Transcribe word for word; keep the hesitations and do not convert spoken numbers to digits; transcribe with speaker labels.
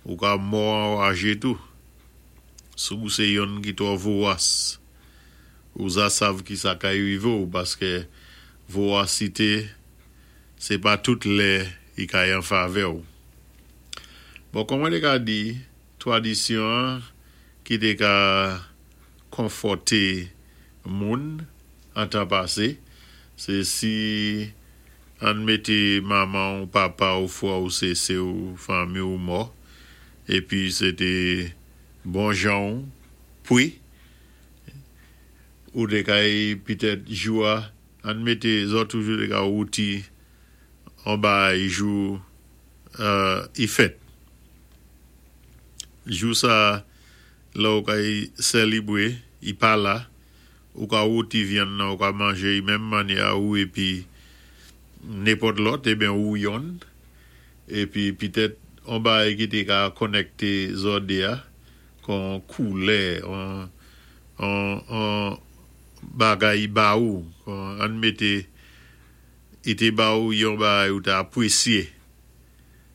Speaker 1: Ou ka mò anwajé tou. Si ou sé yonn ki twò vowas. Ou za sav ki sa kay wivé-w paské vowasité sé pa tout lè i kay an favè-w. Bon, kon mwen té ka di, twadisyon ki té ka konfòté moun an tan pasé, sé si ann mété manman-w, papa-w, fwè-w, sé sè-w, fanmi-w mò, épi sé té bon jan-w pwi, ou té kay pitèt jou a, ann mété zòt toujou té ka wouti an bagay jou euh i fèt. Jou sa lè ou kay sélébwé, i pa la, ou ka wouti vyann nan, ou ka manjé i menm mannyè a ou épi nenpòt lòt, eben ou yonn, épi pitèt on bagay ki té ka konnèkté zòt dé a, kon koulè, on on on bagay i ba ou, kon ann mété i té ba ou yon bagay ou té apwésyé.